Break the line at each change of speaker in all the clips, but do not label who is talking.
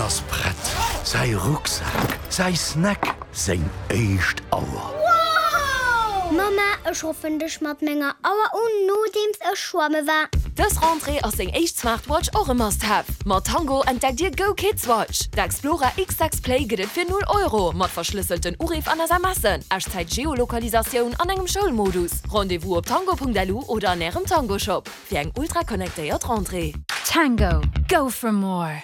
Hien ass prett. Säi Rucksak, säi Snack, seng éischt Auer.
Mamma, ech ruffen dech mat menger Auer un, nodeems ech schwamme war.
Dës Rentrée ass seng éischt Smartwatch och e Must-Have. Mat Tango entdeckt Dir Go Kids Watch. D'Explora X6 Play gëtt et fir 0 Euro, mat verschlësselten Uriff an SMSen, Echtzäit-Geolokalisatioun an engem Schoulmodus. Rendez-vous op tango.lu oder an Ärem Tango-Shop. Fir eng ultra connectéiert Rentrée.
Tango, go for more!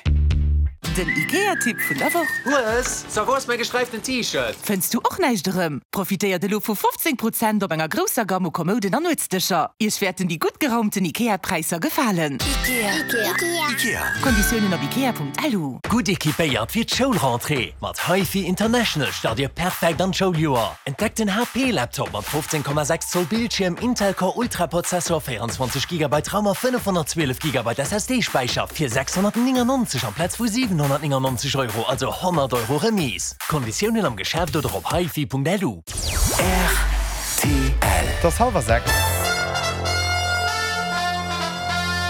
Den IKEA-Tipp vun der Woch.
Hues, so wou ass mäi gesträiften T-Shirt?
Fënns du och näischt erëm? Profitéiert elo vu 15 Prozent op enger grousser Gamm u Kommouden an Nuetsdëscher. Iech wäerten déi gutt geraumten IKEA-Präisser gefalen.
Ikea.
Konditiounen op ikea.lu.
Gutt equipéiert fir d'Schoulrentrée! Mat HiFi International start Dir perfekt an d'Schouljoer. Entdeckt den HP Laptop mat 15,6 Zoll Bildschierm, Intel Core Ultra Prozessor, 24 Gigabyte RAM a 512 Gigabyte SSD Späicher fir 699 amplaz vu 799 Euro, also 100 Euro Remise. Konditiounen am Geschäft oder op hifi.lu.
Rtl.
Et ass hallwer 6.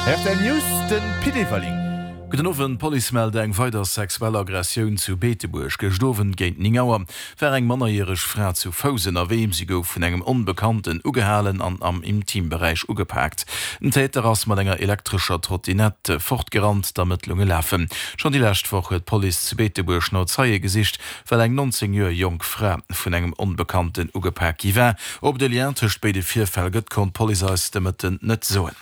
Rtl News, de Pit Everling.
Gudden Owend, D'Police mellt eng weider sexuell Aggressioun zu Beetebuerg. Gëscht Owend géint 9 Auer war eng mannerjäreg Fra zu Fouss ënnerwee. Si gouf vun engem Onbekannten ugehalen an am Intimberäich ugepaakt. Den Täter ass mat enger elektrescher Trottinette fortgerannt. D'Ermëttlunge lafen. Schonn déi lescht Woch huet d'Police zu Beetebuerg no Zeie gesicht, well eng 19 Joer jonk Fra vun engem Onbekannten ugepak gi war. Ob et e Lien tëscht béide Virfäll gëtt, konnt d'Police eis de Mëtten net soen.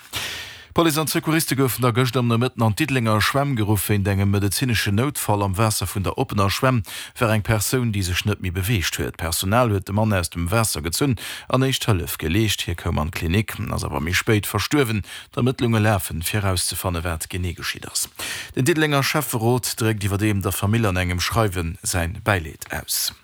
D'Police an d'Secouriste goufen da gëscht am Nomëtten an d'Diddelenger Schwämm geruff. Wéint engem medezineschen Noutfall am Waasser vun der oppener Schwämm war eng Persoun, déi sech net méi beweegt huet. D'Personal huet de Mann aus dem Waasser gezunn an éischt Hëllef geleescht. Hie koum an d'Klinik, ass awer méi spéit verstuerwen. D'Ermëttlunge lafen, fir erauszefanne wat genee geschitt ass. Den Diddelenger Schäfferot dréckt iwwerdeem der Famill an engem Schreiwe säin Bäileed aus.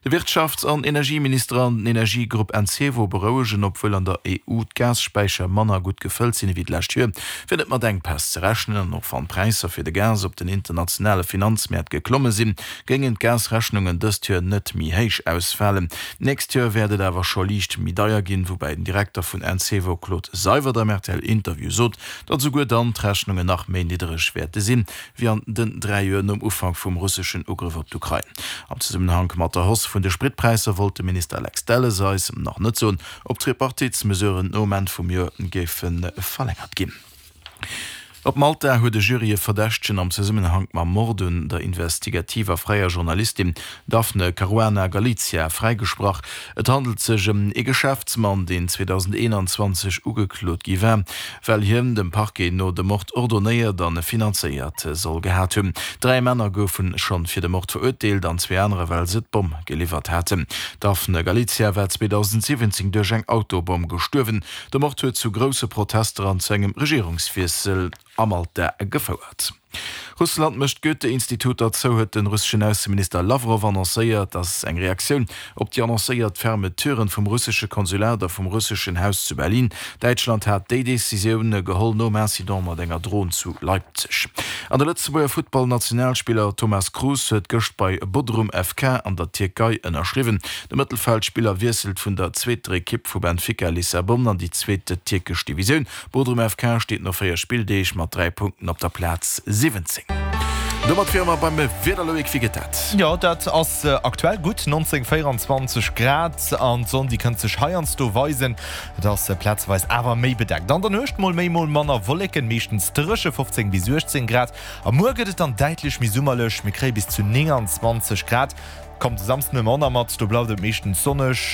De Wirtschafts an Energieminister an den Energiegrupp Encevo berouegen, obwuel an der EU d'Gasspäicher manner gutt gefëllt sinn ewéi d'lescht Joer, wier net mat Enkpäss ze rechnen. An och wann d'Präisser fir de Gas op den internationale Finanzmäert geklomme sinn, géingen d'Gasrechnungen dëst Joer net méi héich ausfalen. D'nächst Joer wäert et awer scho liicht méi deier ginn, woubäi den Direkter vun Encevo Claude Seywert am RTL-Interview sot, datt esouguer dann d'Rechnungen nach méi niddereg wäerte sinn. wéi an den 3 Joer nom Ufank vum russeschen Ugrëff op d'Ukrain. Am Zesummenhank mat der Hausse vun de Spritpräisser wollt de Minister Lex Delles eis nach net soen, ob d'Tripartitsmesuren nom Enn vum Joer géife verlängert ginn. Op Malta huet e Jury e Verdächtegen am Zesummenhank mam Mord un der investigativer fräier Journalistin Daphne Caruana Galizia fräigesprach. Et handelt sech ëm ee Geschäftsmann, deen 2021 ugeklot gi war, well hien dem Parquet no de Mord ordonéiert an finanzéiert soll gehat hunn. 3 Männer goufe schonn fir de Mord verurteelt an zwee anerer well se d'Bomm geliwwert haten. D'Daphne Galizia war 2017 duerch eng Autobomm gestuerwen. De Mord huet zu grousse Protester an zu engem Regierungswiessel a Malta gefouert. Russland mécht d'Goethe-Instituter zou, huet de russeschen Ausseminister Lawrow annoncéiert. Dat ass eng Reaktioun op déi annoncéiert Fermeturen vum russesche Konsulat a vum russeschen Haus zu Berlin. Däitschland hat déi Decisioun geholl nom Incident mat enger Dron zu Leipzig. An de Lëtzebuerger Futtballnationalspiller Thomas Cruz huet gëscht bei Bodrum FK an der Tierkei ënnerschriwwen. De Mëttelfeldspiller wiesselt vun der zweeter Ekipp vu Benfica Lissabon an déi zweet tierkesch Divisioun. Bodrum FK steet no 4 Spilldeeg mat 3 Punkten op der Plaz 17. Domat wiere mer beim Wieder. Loïc, wéi gëtt dat?
Jo, dat ass aktuell gutt, 19, 24 Grad an d'Sonn déi kënnt sech heiansdo weisen. Et ass plazeweis awer méi bedeckt. An der Nuecht mol méi, mol manner Wolleken, meeschtens dréche, 15 bis 18 Grad. A muer gëtt et dann däitlech méi summerlech, mir kréie bis zu 29 Grad. Kommt de Samsden ëmmer mat, do bleift et meeschtens sonneg.